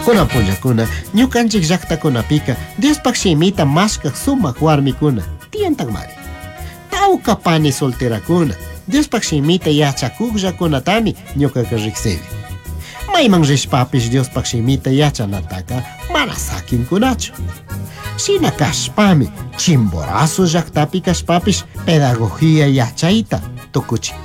Kunan punllakuna ñukanchik llaqtakunapika Diospaq shimita mashkaq sumaq warmikuna tiyantaqmari. Tawka pani solterakuna Diospaq shimita yachakuqllakunatami ñuqaqa riqsini. Mayman rishpapish Diospaq shimita yachanataka mana sakinkunachu. Shina kashpami Chimborazo llaqtapi kashpapish pedagogía yachayta tukuchin.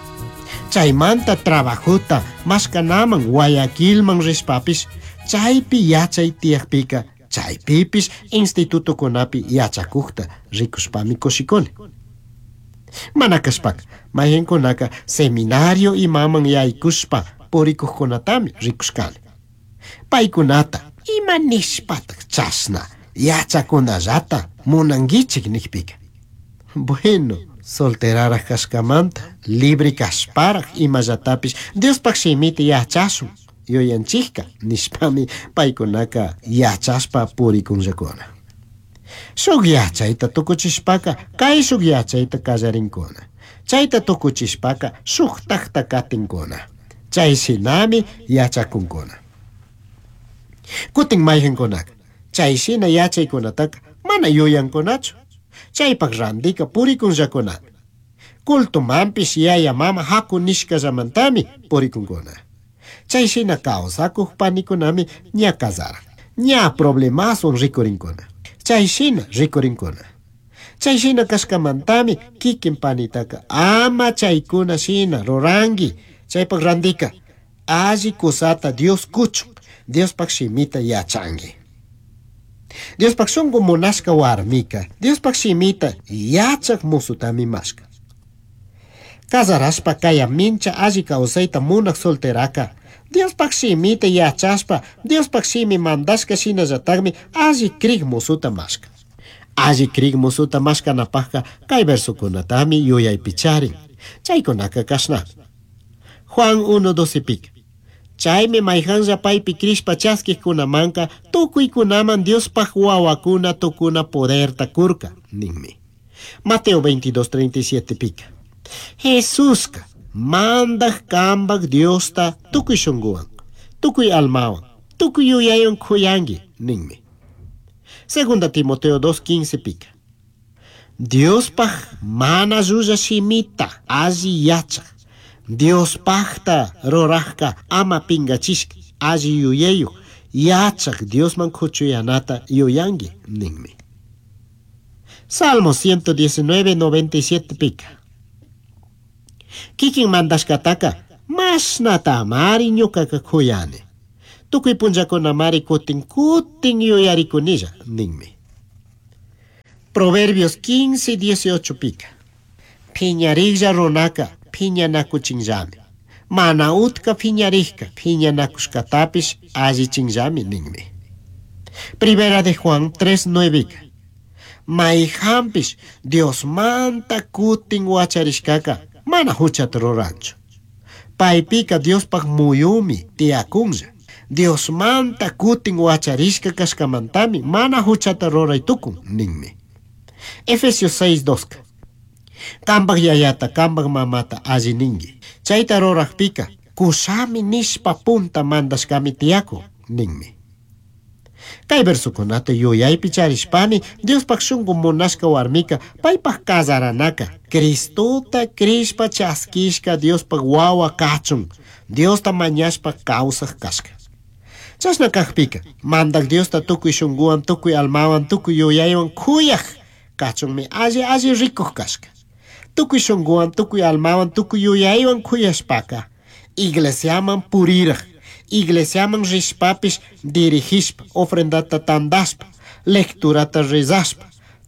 Chaymanta trabajota mashkanaman Guayaquilman rishpapish chaypi yachay tiyaqpika chaypipish institutokunapi yachakuqta rikushpami kushikuni. Mana kashpaka mayqinkunaka seminario imaman yaykushpa purikuqkunatami rikushkani. Paykunata ima nishpataq chashna yachakunallata munankichik niqpika. Bueno, solteraraq kashkamanta libre kashparaq imallatapis Diospaq shimita yachashun yuyanchikka nishpami paykunaka yachashpa purikunllakuna. Shuk yachayta tukuchishpaka kayshuk yachayta kallarinkuna. Chayta tukuchishpaka shuktakta katinkuna. Chay shinami yachakunkuna. Kutin mayqinkunaka chay shina yachaykunataka mana yuyankunachu. Chaypaq randika purikunllakunami. Cultumanpish yaya mama haku nishkallamantami purikunkuna. Chay shina kawsakuq panikunami ña kasaran. Ña problemaswan rikurinkuna. Chay shina rikurinkuna. Chay shina kashkamantami kikin panitaka ama chaykuna shina ruranki. Chaypaq randika alli kusata Dios kuchun. Diospaq shimita yachanki. Diospaq shunqu munashka warmika Diospaq shimita yachaq musutami mashka. Kasarashpa kaya mincha alli kawsayta munaq solteraka Diospaq shimita yachashpa Diospaq shimi mandashka shinallataqmi alli krik musuta mashka. Alli krik musuta mashkanapaqqa kay versokunatami yuyaypi charin. Chaykunaka kashnami. Juan 1:12 pika. Chaymi mayqanlla paypi krishpa chaskiqkunamanka tukuykunaman Diospaq wawakuna tukuna poderta kurka ninmi. Mateo 22:37 pika. Jesuska mandaq kambaq Diosta tukuy shunquwan, tukuy almawan, tukuy yuyaywan khuyanki ninmi. Segunda Timoteo 2:15 pika. Diospaq mana llulla shimita alli yachaq. Diospaqta ruraqka ama pingachishka alli yuyayuq yachaq Diosman kuchuyanata yuyanki ninmi. Salmo 119, 97 pika. Kikin mandashkataka mashnatamari ñuqaka khuyani. Tukuy punllakunamari kutin kutin yuyarikunilla ninmi. Proverbios 15, 18 pika. Phiñariklla runaka phiñanakuchinllami. Mana utka phiñarikka phiñanakushkatapish allichinllami ninmi. Primera de Juan 3, 9 Mayqanpish Diosmanta kutin wacharishkaka mana huchata ruranchu. Paypika Diospaq muyumi tiyakunlla. Diosmanta kutin wacharishka kashkamantami mana huchata ruray tukun ninmi. Efesios 6, 2 Kambaq yayata, kambaq mamata alli ninki. Chayta ruraqpika kushami nishpa punta mandashkami tiyakun ninmi. Kay versokunata yuyaypi charishpami Diospaq shunqu munashka warmika paypaq kasaranaka Cristota krishpa chaskishka Diospaq wawa kachun Diosta mañashpa kawsaq kashka. Chashna kaqpika mandaq Diosta tukuy shunquwan tukuy almawan tukuy yuyaywan khuyaq kachunmi alli alli rikuq kashka. Tukuy shunquwan tukuy almawan tukuy yuyaywan khuyashpaka iglesiaman puriraq iglesiaman rishpapish dirigishpa ofrendata tandashpa lecturata rezashpa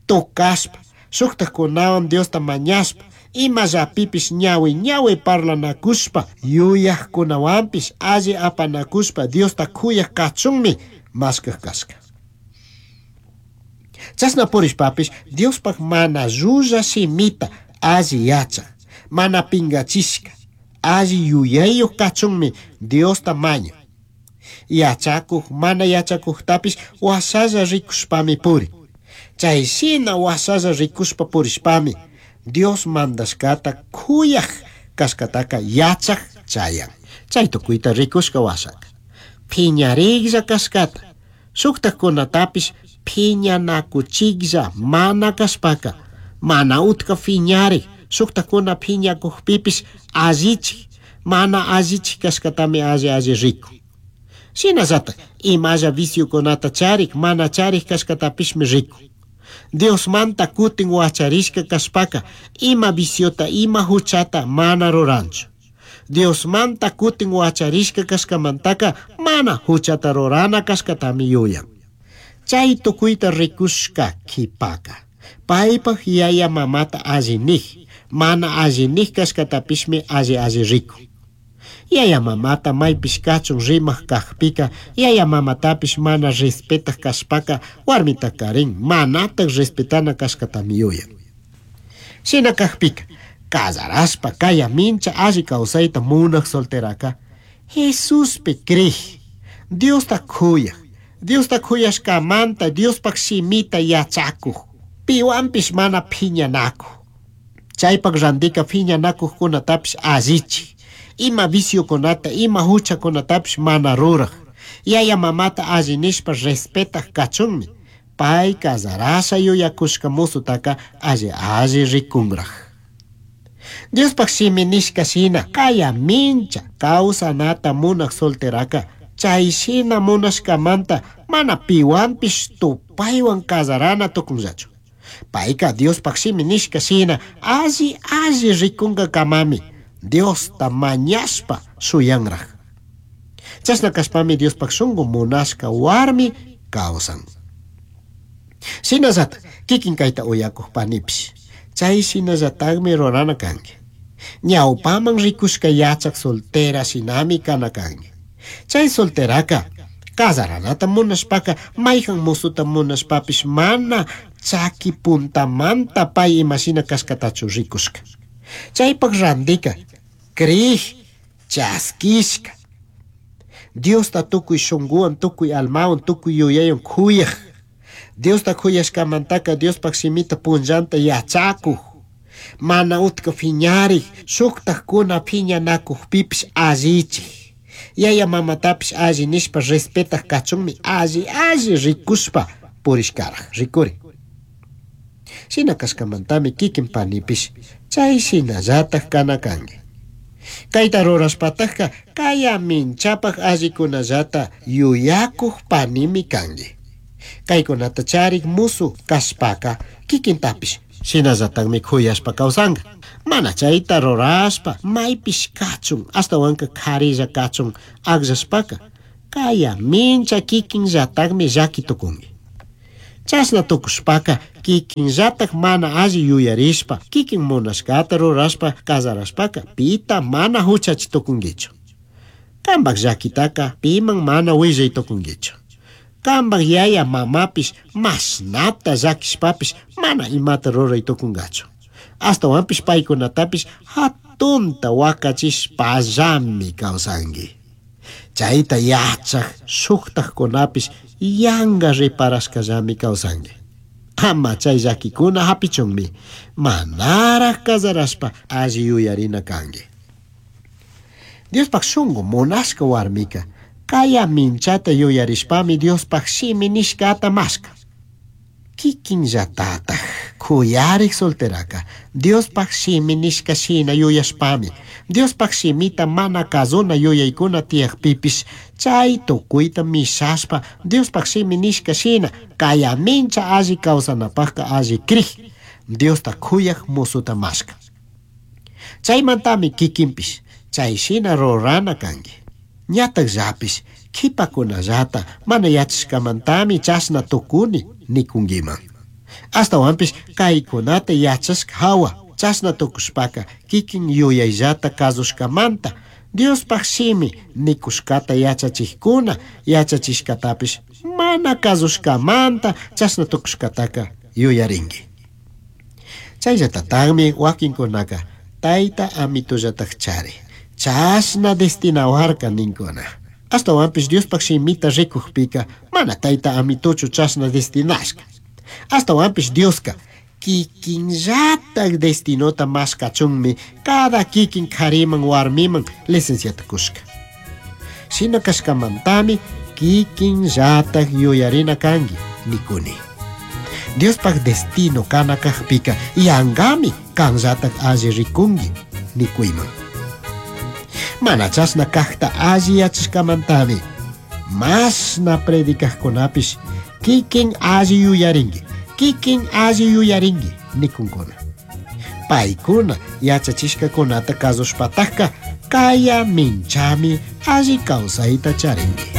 tocashpa shuqtaqkunawan Diosta mañashpa imallapipish ñawi ñawi parlanakushpa yuyaqkunawanpish alli apanakushpa Diosta khuyaq kachunmi mashkaq kashka. Chashna purishpapish Diospaq mana llulla shimita alli yachaq mana pingachishka alli yuyayuq kachunmi Diosta mañan. Yachakuq mana yachakuqtapish washalla rikushpami purin. Chay shina washalla rikushpa purishpami Dios mandashkata khuyaq kashkataka yachaq chayan. Chay tukuyta rikushka washaka. Piñarijlla cashcata, shujtajcunatapish piñanacuchijlla mana cashpaca, mana utca piñarij, shujtajcuna piñacujpipish allichij, mana allichij cashcatami alli alli ricun. Shinallataj imalla viciocunata charij, mana charij cashcatapishmi ricun. Diosmanta cutin huacharishca cashpaca, ima viciota, ima juchata mana ruranchu. Diosmanta cutin huacharishca cashcamantaca mana juchata rurana cashcatami yuyan. Chay tucuyta ricushca quipaca, paipaj yaya mamata alli nij, mana alli nij cashcatapishmi alli alli ricun. Yaya mamata maypish kachun rimaj kajpika, yaya mamatapish mana respetaj kashpaka, warmita karin manataj respetana kashkatami yuyan. Shina kajpika, casarashpa kaya mincha alli kawsayta munaj solteraka, Jesuspi crij, Diosta kuyaj, Diosta kuyashkamanta Diospaj shimita yachakuj, piwanpish mana phiñanakuj. Chaypak randika phiñanakujkunatapish allichij, ima viciokunata, ima huchakunatapish mana ruraj, yaya mamata alli nishpa respetaj kachunmi, pay casarasha yuyakushka musutaka alli alli rikunraj. Diospaj shimi nishka shina kaya mincha kawsanata munaj solteraka, chay shina munashkamanta mana piwanpish tupaywan casarana tukunllachu. Payka Diospaj shimi nishka shina alli alli rikunkakamami Diosta mañashpa shuyanraj. Chashna kashpami Diospaj shunku munashka warmi kawsan. Shinallataj kikin kayta uyakuj panipish, chay shinallatajmi rurana kanki. Ñawpaman rikushka yachak soltera shinami kana kanki. Chay solteraka casaranata munashpaka mayjan musuta munashpapish mana chaki puntamanta pay imashina kashkatachu rikushka. Chaypak randika crij chaskishka. Diosta tukuy shunkuwan, tukuy almawan, tukuy yuyaywan kuyaj. Diosta kuyashkamantaka Diospaj shimita punllanta yachakuj. Mana utka phiñarij, shuktajkuna phiñanakujpipish allichij. Yaya mamatapish alli nishpa respetaj kachunmi alli alli rikushpa purishkaraj, rikuri. Shina kashkamantami kikin panipish chay shinallataj kana kanki. Kayta rurashpatajka kaya minchapaj allikunallata yuyakuj panimi kanki. Kaykunata charik musu kashpaka kikintapish shinallatajmi kuyashpa kawsanka. Mana chayta rurashpa maypish kachun ashtawanka karilla kachun akllashpaka kaya mincha kikinllatajmi llaki tukunki. Chashna tukushpaka kikinllataj mana alli yuyarishpa kikin munashkata rurashpa casarashpaka pita mana huchachi tukunkichu. Kanpak llakitaka piman mana willay tukunkichu. Kanpak yaya mamapish mashnata llakishpapish mana imata ruray tukunkachu. Ashtawanpish paykunatapish hatunta wakachishpallami kawsanki. Chayta yachaj shuktajkunapish yanka reparashkallami kawsanki. Ama chay llakikuna hapichunmi manaraj casarashpa alli yuyarina kanki. Diospaj shunku munashka warmika kaya minchata yuyarishpami Diospaj shimi nishkata mashka. Kikinllatataj kuyarik solteraka Diospaj shimi nishka shina yuyashpami Diospaj shimita mana kazuna yuyaykuna tiyakpipish chay tukuyta mishashpa Diospaj shimi nishka shina kaya mincha alli kawsanapajka alli krij Diosta kuyaj musuta mashka. Chaymantami kikinpish chay shina rurana kanki. Ñatajllapish kipakunallata mana yachashkamantami chashna tukuni nikunkiman. Ashtawanpish kaykunata yachashka hawa chashna tukushpaka kikin yuyayllata kasushkamanta Diospaj shimi nikushkata yachachijkuna yachachishkatapish mana kasushkamanta chashna tukushkataka yuyarinki. Chayllatataqmi wakinkunaka tayta amitullataj chari chashna destinawarka ninkuna. Ashtawanpish Diospaj shimita rikujpika mana tayta amituchu chashna destinashka. Ashtawanpish Dioska kikinllataj destinota mashkachunmi cada kikin kariman warmiman licenciata kushka. Shina cashcamantami kikinllatak yuyarina kanki nikuni. Diospaj destino kana kajpika yangami kanllatak alli rikunki nikuyman. Mana chashna kajta alli yachashkamantami mashna predicajkunapish kikin alli yuyarinki, kikin alli yuyarinki nikunkuna. Paykuna yachachishkakunata kasushpatajka kaya minchami alli kawsayta charinki.